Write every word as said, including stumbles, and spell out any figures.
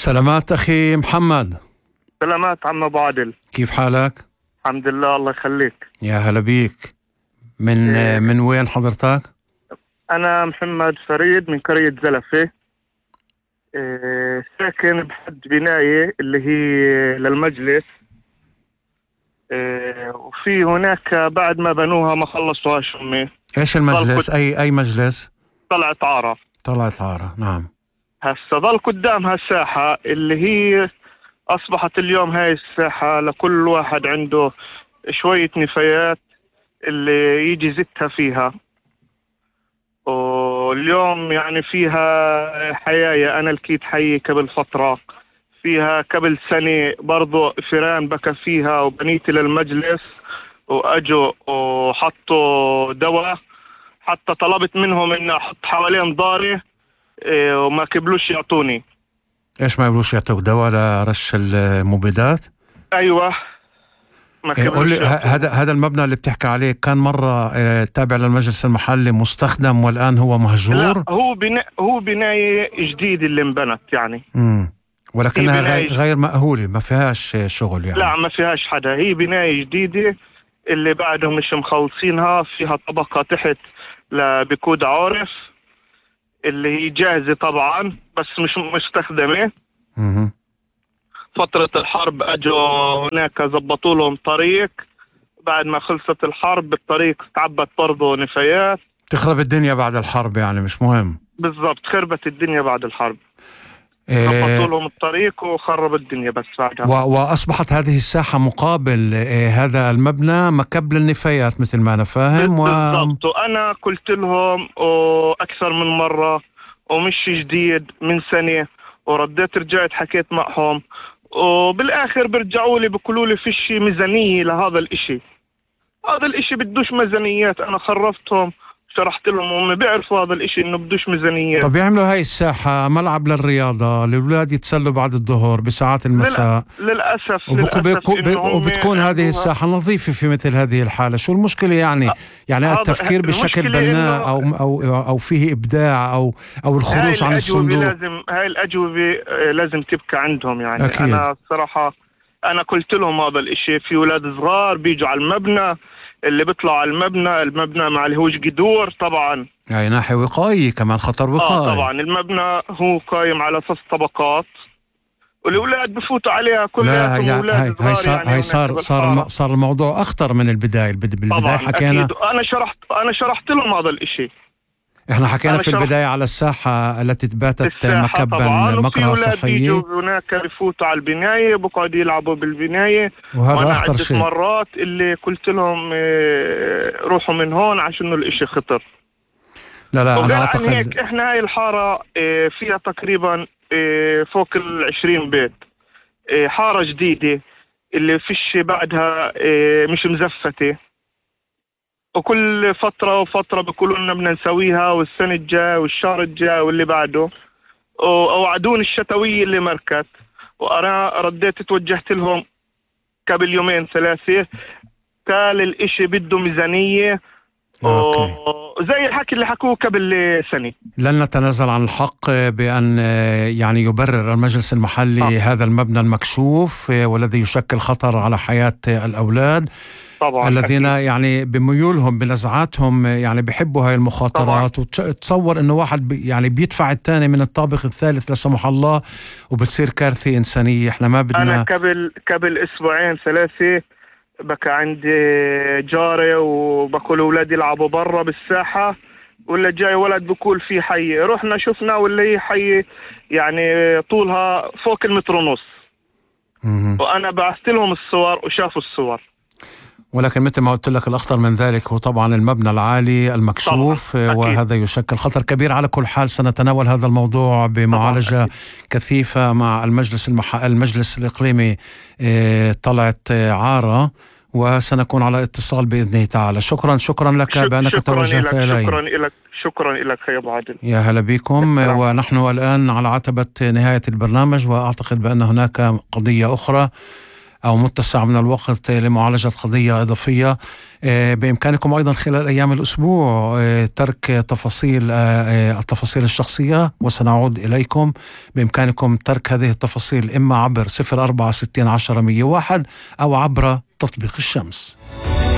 سلامات أخي محمد. سلامات عم أبو عادل، كيف حالك؟ الحمد لله الله يخليك. يا هلا بيك. من إيه. من وين حضرتك؟ أنا محمد فريد من قرية زلفة، إيه ساكن بحد بناية اللي هي للمجلس، إيه وفي هناك بعد ما بنوها ما خلصوهاش أمي. إيش المجلس؟ أي أي مجلس؟ طلعت عارة. طلعت عارة، نعم. هسا ضل قدامها الساحة اللي هي أصبحت اليوم هاي الساحة لكل واحد عنده شوية نفايات اللي يجي زتها فيها، واليوم يعني فيها حياية. أنا لقيت حي قبل فترة، فيها قبل سنة برضو فيران بكى فيها، وبنيتي للمجلس وأجوا وحطوا دواء، حتى طلبت منهم إن أحط حوالين داري إيه وما قبلوش يعطوني. إيش ما يقولوش يعطوك دواء لرش المبيدات؟ أيوة ما إيه قول لي، قبلوش. هذا هذا المبنى اللي بتحكي عليه كان مرة إيه تابع للمجلس المحلي مستخدم والآن هو مهجور؟ لا، هو بناء هو بناية جديدة اللي انبنت يعني. امم ولكنها غير, جديد. غير مأهولة، ما فيهاش شغل يعني. لا ما فيهاش حدا، هي بناية جديدة اللي بعدهم مش مخلصينها، فيها طبقة تحت لبكود عارف اللي هي جاهزة طبعا بس مش مستخدمة. امم فترة الحرب اجوا هناك زبطوا لهم طريق، بعد ما خلصت الحرب الطريق تعبت برضه نفايات. تخرب الدنيا بعد الحرب يعني، مش مهم. بالضبط، خربت الدنيا بعد الحرب. إيه زبطوا لهم الطريق وخرب الدنيا بس بعدها. و... وأصبحت هذه الساحة مقابل إيه هذا المبنى مكب للنفايات مثل ما أنا فاهم. و... بالضبط، وأنا قلت لهم أكثر من مرة ومش جديد من سنة، ورديت رجعت حكيت معهم، وبالآخر برجعوا لي بيقولوا لي فيش ميزانية لهذا الإشي. هذا الإشي بدوش ميزانيات، أنا خرفتهم شرحت لهم وهم بيعرفوا هذا الإشي إنه بدوش ميزانيات. طب يعملوا هاي الساحة ملعب للرياضة، الأولاد يتسلوا بعد الظهر بساعات المساء. للأسف وبكو للأسف بكو وبتكون هذه الساحة نظيفة في مثل هذه الحالة. شو المشكلة يعني؟ يعني التفكير بشكل بناء أو أو أو فيه إبداع أو أو الخروج عن الصندوق. لازم هاي الأجوبة لازم تبقى عندهم يعني. أكيد. أنا الصراحة أنا قلت لهم هذا الإشي، في أولاد صغار بيجوا على المبنى، اللي بيطلع على المبنى المبنى ما عليهوش جدور طبعا، يعني ناحية وقائية كمان، خطر وقائي. آه طبعا المبنى هو قايم على ثلاث طبقات، والأولاد بفوتوا عليها كلها. لا هي هي صار يعني هي صار صار صار الموضوع أخطر من البداية. بالبداية حكينا أكيد. أنا شرحت أنا شرحت لهم هذا الإشي. احنا حكينا في البداية على الساحة التي تباتت مكبا مقرأة صحية. بيجوا هناك بفوتوا على البناية بقعدوا يلعبوا بالبناية، وهذا أخطر شيء. مرات اللي قلت لهم روحوا من هون عشان الإشي خطر. لا لا أنا أعتقد هيك إحنا هاي الحارة فيها تقريبا فوق العشرين بيت، حارة جديدة اللي فيش بعدها مش مزفتة، وكل فترة وفترة بيقولوا لنا بدنا نسويها والسنة الجاية والشهر الجاي واللي بعده، ووعدون الشتوية اللي مركت. وأنا رديت توجهت لهم قبل يومين ثلاثة، قال الإشي بده ميزانية وزي الحكي اللي حكوه قبل سنة. لن نتنازل عن الحق بأن يعني يبرر المجلس المحلي آه. هذا المبنى المكشوف والذي يشكل خطر على حياة الأولاد طبعا الذين أكيد. يعني بميولهم بنزعاتهم يعني بيحبوا هاي المخاطرات. وتصور انه واحد بي يعني بيدفع الثاني من الطابق الثالث لا سمح الله وبتصير كارثة إنسانية. احنا ما بدنا. انا قبل قبل اسبوعين ثلاثة بقى عندي جاري وبقول اولادي يلعبوا برا بالساحة، ولا جاي ولد بقول في حي، رحنا شفنا ولا هي حي يعني طولها فوق المتر ونص، وانا بعثت لهم الصور وشافوا الصور. ولكن مثل ما قلت لك الأخطر من ذلك هو طبعا المبنى العالي المكشوف، وهذا يشكل خطر كبير. على كل حال سنتناول هذا الموضوع بمعالجة كثيفة مع المجلس المح... المجلس الإقليمي طلعت عارة، وسنكون على اتصال بإذنه تعالى. شكرا شكرا لك بأنك توجهت إلي. شكرا لك شكرا لك يا أبو عادل. يا هلا بكم. ونحن الآن على عتبة نهاية البرنامج، وأعتقد بأن هناك قضية أخرى أو متسع من الوقت لمعالجة قضية إضافية. بإمكانكم أيضا خلال أيام الأسبوع ترك تفاصيل التفاصيل الشخصية، وسنعود إليكم. بإمكانكم ترك هذه التفاصيل إما عبر صفر أربعة ستين عشرة مية واحد أو عبر تطبيق الشمس.